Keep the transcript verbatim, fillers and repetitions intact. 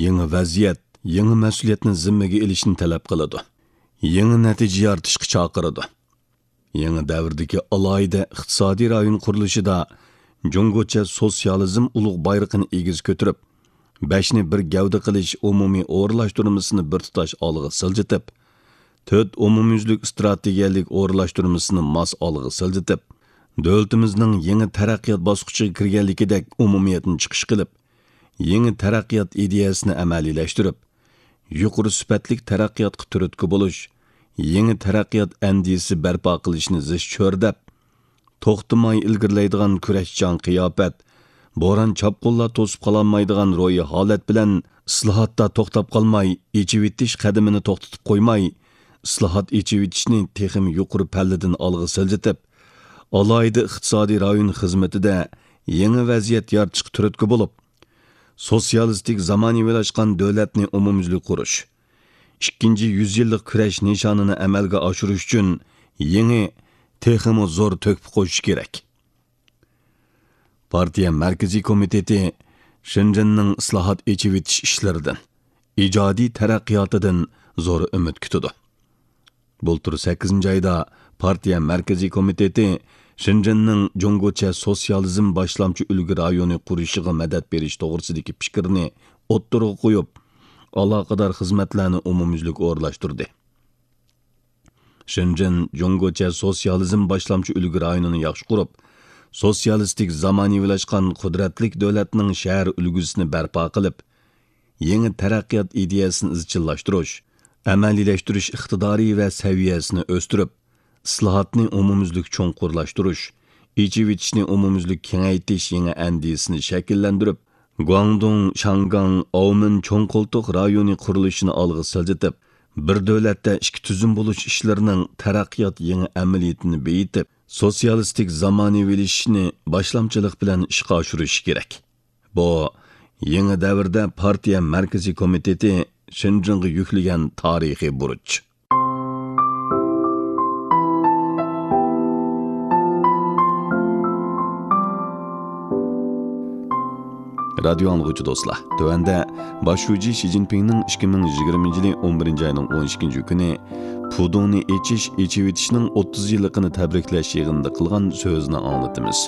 يېڭى ۋەزىيەت، يېڭى مەسئۇلىيەتنى زىممىگە ئېلىشنى تەلەپ قىلىدۇ. يېڭى نەتىجە يارىتىشقا چاقىرىدۇ. يېڭى دەۋردىكى ئالاھىدە ئىقتىسادىي رايون قۇرۇلۇشىدا جۇڭگوچە سوتسىيالىزم ئۇلۇغ بايرىقىنى ئېگىز كۆتۈرۈپ، بەشنى بىر گەۋدە قىلىش ئومۇمىي ئورۇنلاشتۇرمىسىنى بىر تۇتاش ئالغا سىلجىتىپ، تۆت ئومۇميۈزلۈك ئىستراتېگىيەلىك ئورۇنلاشتۇرمىسىنى ماس ئالغا سىلجىتىپ، دۆلىتىمىزنىڭ يېڭى تەرەققىيات باسقۇچىغا كىرگەنلىكىدەك ئومۇمىيەتنى چىقىش قىلىپ، يېڭى تەرەققىيات ئىدىيەسىنى ئەمەلىيلەشتۈرۈپ، يۇقىرى سۈپەتلىك تەرەققىياتقا تۈرتكە بولۇش، يېڭى تەرەققىيات ئەندىزىسى بەرپا قىلىشنى زىچ چۆرىدەپ، توختىماي ئىلگىرىلەيدىغان كۈرەشچان قىياپەت، بوران-چاپقۇنلار توسۇپ قالالمايدىغان روھىي ھالەت بىلەن ئىسلاھاتتا توختاپ قالماي، ئېچىۋېتىش قەدىمىنى توختىتىپ قويماي، ئىسلاھات، ئېچىۋېتىشنى تېخىمۇ يۇقىرى پەللىدىن ئالغا سىلجىتىپ، ئالاھىدە ئىقتىسادىي رايون خىزمىتىدە يېڭى ۋەزىيەت يارىتىشقا تۈرتكە بولۇپ، سوتسىيالىستىك زامانىۋىلاشقان دۆلەتنى ئومۇميۈزلۈك قۇرۇش، ئىككىنچى يۈز يىللىق كۈرەش نىشانىنى ئەمەلگە ئاشۇرۇش ئۈچۈن يېڭى، تېخىمۇ زور تۆھپە قوشۇش كېرەك. پارتىيە مەركىزىي كومىتېتى شېنجېننىڭ ئىسلاھات، ئېچىۋېتىش ئىشلىرىدىن، ئىجادىي تەرەققىياتىدىن زور ئۈمىد كۈتىدۇ. بۇلتۇر سەككىزىنچى ئايدا پارتىيە مەركىزىي كومىتېتى شېنجېننىڭ جۇڭگوچە سوتسىيالىزم باشلامچى ئۈلگە رايونى قۇرۇشىغا مەدەت بېرىش توغرىسىدىكى پىكىرنى ئوتتۇرىغا قويۇپ، ئالاقىدار خىزمەتلەرنى ئومۇميۈزلۈك ئورۇنلاشتۇردى. شېنجېن جۇڭگوچە سوتسىيالىزم باشلامچى ئۈلگە رايونىنى ياخشى قۇرۇپ، سوتسىيالىستىك زامانىۋىلاشقان قۇدرەتلىك دۆلەتنىڭ شەھەر ئۈلگىسىنى بەرپا قىلىپ، يېڭى تەرەققىيات ئىدىيەسىنى ئىزچىللاشتۇرۇش، ئەمەلىيلەشتۈرۈش ئىقتىدارى ۋە سەۋىيەسىنى ئۆستۈرۈپ، ئىسلاھاتنى ئومۇميۈزلۈك چوڭقۇرلاشتۇرۇش، ئېچىۋېتىشنى ئومۇميۈزلۈك كېڭەيتىش يېڭى ئەندىزىسىنى شەكىللەندۈرۈپ، گۇاڭدۇڭ، شياڭگاڭ، ئاۋمېن چوڭ قولتۇق رايونى قۇرۇلۇشىنى ئالغا سىلجىتىپ، بىر دۆلەتتە ئىككى تۈزۈم بولۇش ئىشلىرىنىڭ تەرەققىيات يېڭى ئەمەلىيىتىنى بېيىتىپ، سوتسىيالىستىك زامانىۋىلىشىشنى باشلامچىلىق بىلەن ئىشقا ئاشۇرۇشى كېرەك. بۇ، يېڭى دەۋردە پارتىيە مەركىزىي كومىتېتى شېنجېنغا يۈكلىگەن تارىخىي بۇرچ. رادىيو ئاڭلىغۇچى دوستلار، تۆۋەندە باش شۇجى شى جىنپىڭنىڭ ئىككى مىڭ يىگىرمىنچى يىلى ئون بىرىنچى ئاينىڭ ئون ئىككىنچى كۈنى پۇدۇڭنى ئېچىش، ئېچىۋېتىشنىڭ ئوتتۇز يىللىقىنى تەبرىكلەش يىغىنىدا قىلغان سۆزىنى ئاڭلىتىمىز.